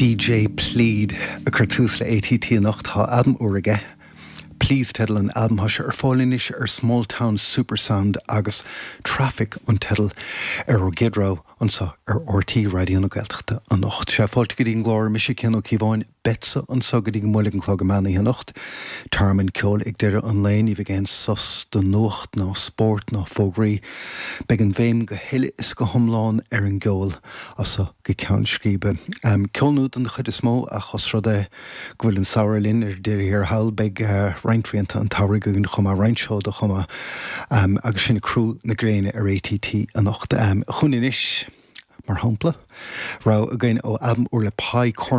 DJ Plead ag cur tús le ATT anocht. Tá albam úr aige, Please teideal an albaim. Tá sé ar fáil anois ar Smalltown Supersound agus Traffic an teideal ar ár gcéad rogha anseo ar RTÉ Raidió na Gaeltachta anocht. Sea, fáilte go dtí an gclár, mise Cian Ó Cíobháin. Beadsa anseo go dtí go mbuailfidh an clog an meán oíche anocht. Tearmann ceoil ag deireadh an lae, ní bheidh aon sos do nuacht ná spórt ná fógraí. Beidh an bhéim go huile is go hiomlán ar an gceol as seo go ceann scríbe. Ceol nua den chuid is mó ach os rud é go bhfuil an samhradh linn ar deireadh thiar thall beidh roinnt rianta an tsamhraidh againn chomh maith, roinnt seoda chomh maith agus sinn ag crú na gréine ar ATT anocht. Chugainn anois, mar shampla, rogha againn ó albam úr le Pie.